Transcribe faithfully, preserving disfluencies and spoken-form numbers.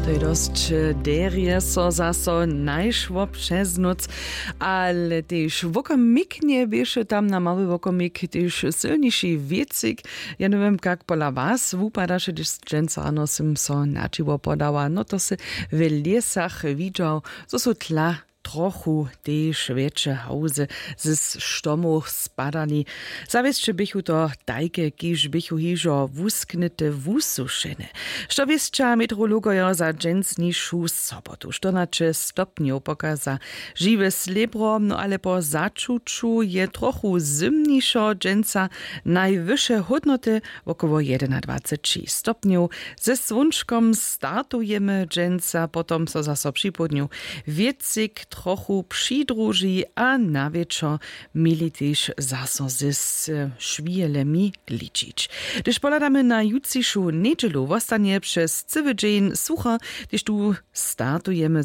To je dosć derje so zaso najšło přez nóc. Ale tež wokomiknje běše tam na mały wokomik tež sylniši wěcik. Ja njewěm kak pola was wupadaše, hdyž dźensa rano sym so na dźiwo podała, no to sy w lěsach widźał, zo su tla trochu tež wjetše hałzy z štomow spadali. Zawěsće běchu to tajke, kiž běchu hižo wusknyte wusušene. Što wěsća meteorologojo za dźensnišu sobotu? Što na će stopnjow pokaza žiwe slěbro, no ale po začuću je trochu zymnišo dźensa. Najwyše hódnoty wokoło jedynadwaceći stopnjow. Ze słónčkom startujemy dźensa, potom so zaso připołdnju wěcik trochu přidruži a na wječor měli tež zaso ze s- šwijelemi ličić. Hdyž pohladamy na jutřišu njedźelu, wostanje přez cyły dźeń sucho, hdyž tu startujemy